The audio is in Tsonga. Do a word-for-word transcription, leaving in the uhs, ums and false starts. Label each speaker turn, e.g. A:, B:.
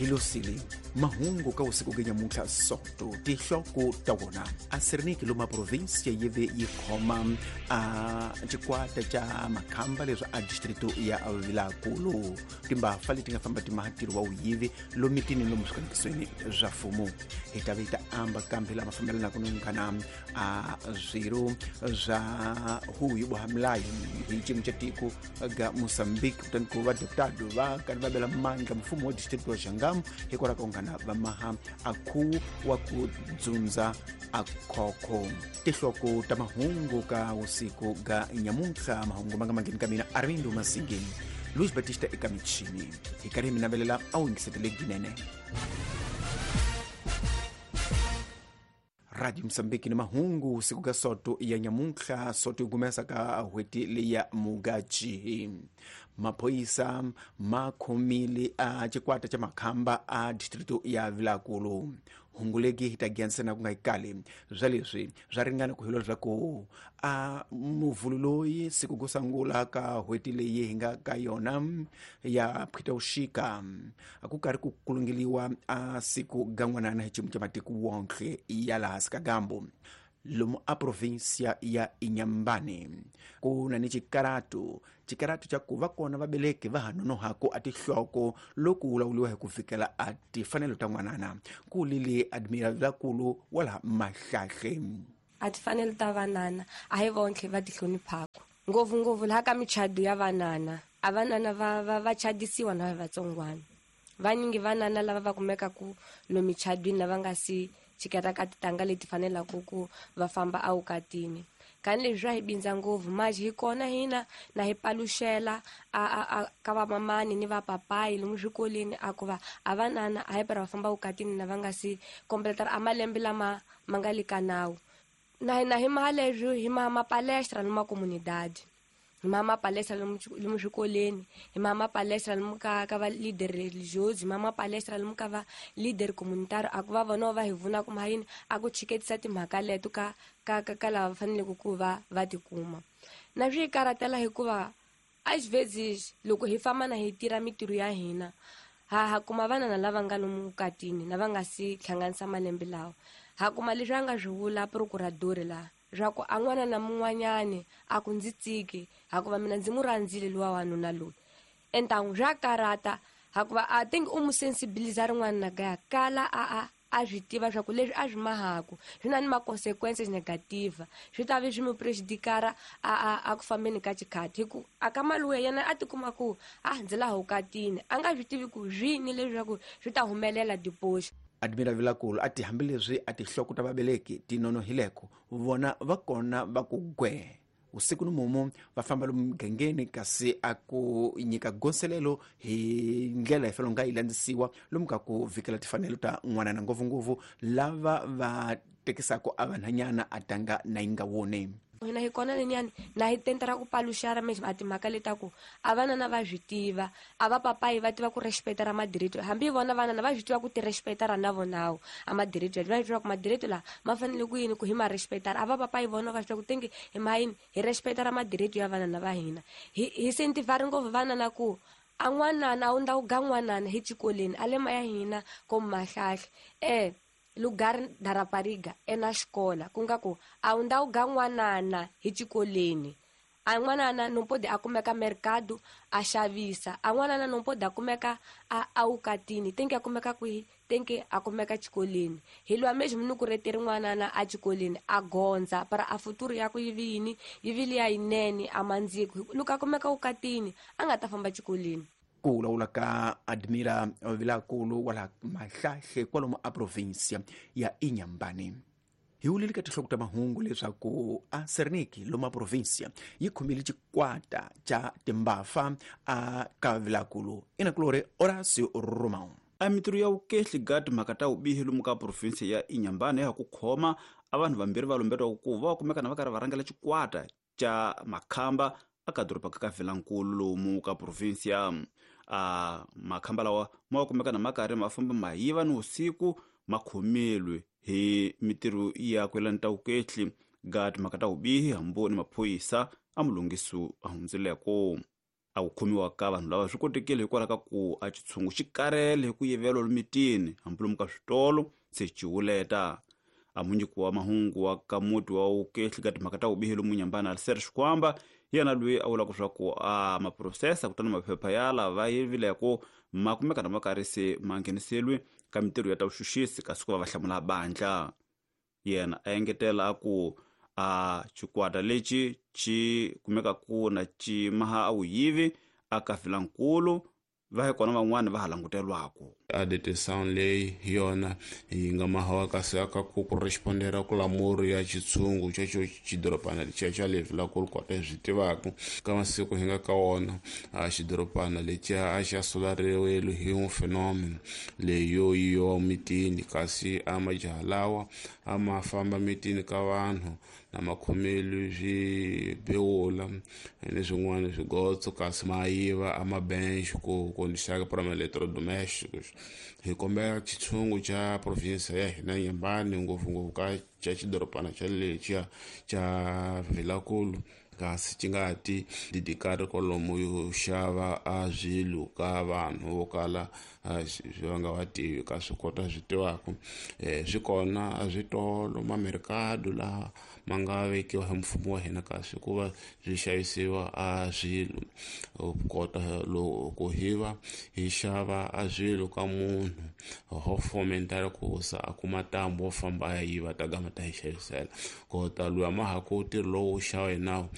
A: Hi losile mahungu ka usiku ge nyamuntlha Soto tihloko ta wona a Serniki loma provinsia yi ve yi khoma a xikwata xa makhamba leswi a distrito ya Vilankulu timbafa leti nga famba timahatiri wa wuyivi lomitini lomu swikanekisweni swa mfumo. Hi ta ve hi ta amba kambe lama fambelanaka no nghana a swirho swa huyu bwa milayo hi xiyimo xa tiko ga Mozambique kutani ku va deputado va karhi va bela mandla mfumo wa distrito wa Xangamu hikwalaho ka nghana va maha akhu wa ku dzundza akhokho. Tihloko ta mahungu ka usiku ga nyamuntlha mahungu ma nga mangheni ka mina Armindo Masingeni Luis Batista eka michini hi karhi hi mi navelela a wu yingisetele ginene. Radio Mozambique ni mahungu usiku ga Soto ya nyamuntlha Soto gumesa ka hweti leya Mugachi. Maphoyisa ma khomile a xikwata xa makhamba a distrito ya Vilankulu. Hunguleki hi ta giyanisana ku nga yikali swa leswi swa ringana ku hilo leswaku a muvhulu loyi siku ku sungula ka hweti leyi hi nga ka yona ya Phitawuxika a ku karhi ku kulungeliwa a siku ga n'wanana hi xiyimo xa matiko wonke ya laha hansi ka gambo lomu a provinsia ya Inhambane ku na ni xikaratu xikaratu xa ku va kona vabeleki va ha nonohaku a tihloko loko vulavuriwa hi ku fikela a tifanelo ta n'wanana ku lili Admiral Vilankulu wa laha Mahlahle.
B: A tifanelo ta vanana a hi vonke va ti hloniphaku ngopfungopfu laha ka michado ya vanana a vanana va va va chadisiwa na vatsongwana vanyingi vanana lava va kumekaku lomu michadwini lava nga si chiketa ka titanga leti fanelaka ku va famba awukatini kani leswi swa hi bindza ngopfu manje hi kona hina na hi paluxela a a ka vamamani ni vapapayi lomu swikolweni a ku va a vanana a hi pera va famba wukatini na va nga si kompletara a malembe lama ma nga le ka nawu na hina hi maha leswi hi maha mapalestra lomu makomunidadi hi maha mapalestra lomu lomu swikolweni hi maha mapalestra lomu ka ka va leader religioso hi maha mapalestra lomu ka va leader communitario a ku va vona va hi vuna kuma yini a ku chiketisa timhaka leto ka ka ka ka lava faneleke ku va va tikuma na swi karatela hikuva às vezes loko hi famba na hi tirha mitirho ya hina ha ha kuma vanana lava nga lomu vukatini na va nga si hlanganisa malembe lawa ha kuma leswi a nga swi vula procurador laha swa ku a n'wana na mun'wanyani a ku ndzi tsiki hakuva mina ndzi mu rhandzile luwa wanuna loyi entangu swa karata hakuva a think u mu sensibiliza rin'wana na kaya kala a a a swi tiva swa ku leswi a swi mahaku swi na ni ma-consequences negative swi ta vi swi mu prejudikara a a a ku fambeni ka xikhati hi ku a ka maluya yena a tikuma ku a ndzi laha vukatini a nga swi tivi ku swini leswaku swi ta humelela deposit.
A: Admiral Vilankulu a ti hambileswi a tihloko ta vabeleki ti nonohileko vona va kona va ku gwe usiku ni mumu va famba lomu mugangeni kasi a ku nyika gonselelo hi ndlela hi fanele nga yi landzisiwa lomu ka ku vikela tifanelo ta n'wanana ngopfungopfu lava va tekisaka a vanhanyana a tanga na yi nga woni.
B: Hina hi kona lenyani na hi tentera ku paluxara mesmo a timhaka letaku a vanana va swi tiva a va papayi va tiva ku respecta ra madirito hambi vona vanana va swi tiva ku ti respecta ra na vonawo a madirito va swi tiva ku madirito la ma fanele ku yini ku hi ma respecta a va papayi vona va swi tiva ku tingi hi ma yini hi respecta ra madirito ya vanana va hina hi hi sentivari ngopfu vanana ku a n'wanana a wu ndza ku ga n'wanana hi xikolweni a le ma ya hina ko Mahlahle eh lugar da rapariga ena xikola ku nga ku a wu ndhawu ga n'wanana hi xikolweni a n'wanana no pode a kumeka mercado a xavisa a n'wanana no pode a kumeka a awukatini tenke a kumeka kwihi tenke a kumeka xikolweni hi lwa mesmo ni ku reteri n'wanana a xikolweni a gondza para a futuro ya ku yi vi yini yi vi liya yinene a mandziko loko a kumeka wukatini a nga ta famba xikolweni.
A: Ku vulavula ka Admira Vilankulu wa laha Mahlahle kwalomu a provinsia ya Inhambane. Hi wulile ka tihloko ta mahungu leswaku a Serniki lomu a provinsia yi khomile xikwata xa timbafa a ka Vilankulu inakulori Horacio Romão.
C: A mitirho ya vukehli ga timhaka ta vubihi lomu ka provinsia ya Inhambane ya ku khoma a vanhu vambirhi va lumbetiwaka ku va kumeka na va karhi va rhangela xikwata xa makhamba aka doroba ka Vilankulu lomu ka provinsia. A makhamba lawa ma kumeka na makarhi ma famba ma yiva ni usiku ma khomelwe hi mitirho ya ku yelana ta vukehli ga timhaka ta vubihi hambi ni maphorisa a mulunghiso a hundzileko. A ku khomiwa ka vanhu lava swi kotekile hikwalaho ka ku a xitshungu xi karele hi ku yiveriwa lomitini hambi lomu ka switolo se xi wuleta. A munyiki wa mahungu wa ka muti wa wukehli ka timhaka ta vubihi lomu Nyambana Alistair Xikwamba hi yena loyi a vulaka leswaku a maphurosesa kutani maphepha ya lava yivileko ma kumeka na ma karhi se ma ngheniseriwe ka mintirho ya ta vuxuxisi kasi ku va va hlamula bandla. Yena a engetela a ku a xikwata lexi xi kumeka ku na xi maha a vuyivi a ka Vilankulu va hi kona van'wani va ha langutelwaku.
D: A detenção leyi hi yona yi nga mahawa kasi aka ku correspondera ku lamuri ya xitshungu xexo xidorobana lexiya xa le Vilankulu kota hi swi tivaka ka masiku hi nga ka wona. A xidorobana lexiya a xa sulariwile hi phenomeno leyi yo yiwa mitini, kasi a majaha lawa a ma famba mitini ka vanhu na makhomelo swi bewula ni swin'wana swigotso, kasi ma yiva a mabench ku kondisaka para eletrodomésticos. Hi kombela xitshungu xa province ya hina Nyambani, ngopfungopfu ka xa xidorobana xa lexiya xa Vilankulu, kasi xi nga ti didikari kwalomu yo xava a swilo ka vanhu vo kala va nga va tivi ka swi kota swi tivaka. Swi kona a switolo mamerikado laha ma nga vekiwa hi mfumo wa hina, kasi ku va swi xavisiwa a swilo kota loko hi va hi xava a swilo ka munhu ho fomentara ku sa a kuma ntambu wo famba a ya yiva ta gama ta hi xavisela kota luya ma ha ku ntirho lowu xava hi nawu.